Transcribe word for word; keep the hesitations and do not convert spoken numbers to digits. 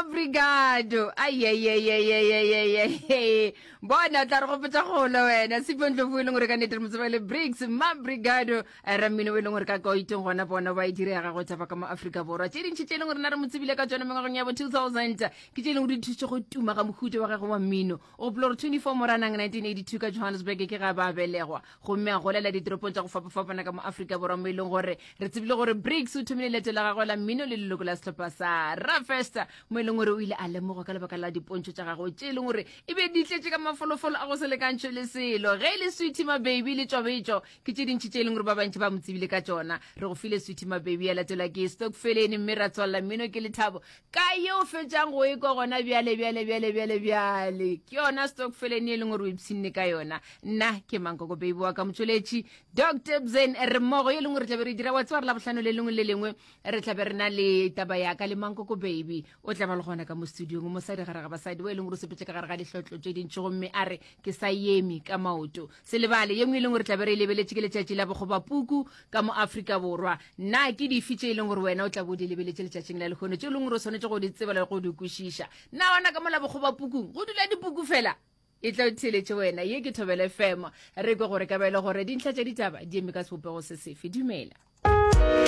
Mabrigado. Aiaiaiaiaiaiai, bona o tla re gopotsa golo wena Sipho Ndlovu, e leng gore ka nnete re mo tseba le Bricks Mabrigado, rammino o e leng gore ka koitong gona bona ba e direga go tšhaba ka mo Afrika Borwa. Tše dintšhi tše e leng gore na re mo tsebile ka tsona mengwageng ya bo two thousand ke tše e leng gore di thusitše go tuma ga mohuta wa gagwe wa mmino. O gopola gore twenty-four Moranang nineteen eighty-two ka Johannesburg ke ga ba belegwa, gomme a golela ditoropong tša go fapafapana ka mo Afrika Borwa, mo e leng gore re tsebile gore Bricks o thomile leeto la gagwe la mmino le leloko la sehlopha sa Rafesta, mo e leng gore o ile a lemogwa ka lebaka la dipontšho tša gagwe tše e leng gore e be di tletše ka mafolofolo a go se lekantšhwe le selo. Ge e le Sweety Mababy le Tšwabetšo ke tše dintši tše e leng gore ba bantši ba mo tsebile ka tšona. Re go file Sweety Mababy, ya latelwa ke Stokfeleni, mme ra tswalela mmino ke lethabo ka yeo fetšang go e kwa gona bjale bjale bjale bjale bjale. Ke yona Stokfeleni e leng gore o ipshinne ka yona. Nna ke Mankoko Baby wa ka motšweletši Doctor Bzen, re mmogo ye lengwe re tlabe re dira wa tseba re la bohlano le lengwe le lengwe re tlabe re na le taba ya ka le Mankoko Baby. O tla ba le gona ka mo studiong, mosadi gare ga basadi o e leng gore o sepetse ka gare ga dihlotlo tše dintši gomme a re ke sa eme ka maoto. Se lebale ye nngwe e leng gore tlabe re e lebeletše ke letšatši la bokgobapuku ka mo Afrika Borwa. Na ke dife tše e leng gore wena o tla bo di lebeletše letšatšing la lehono tše e leng gore o swanetše go di tseba le go di kwešiša? Na gona ka mo la bokgobapukung go dula dipuku fela? E tla o theeletše wena. Ye ke Thobela F M. Re kwe gore ka ba e le gore dintlha tša ditaba di eme ka sebopego se sefe. Dumela.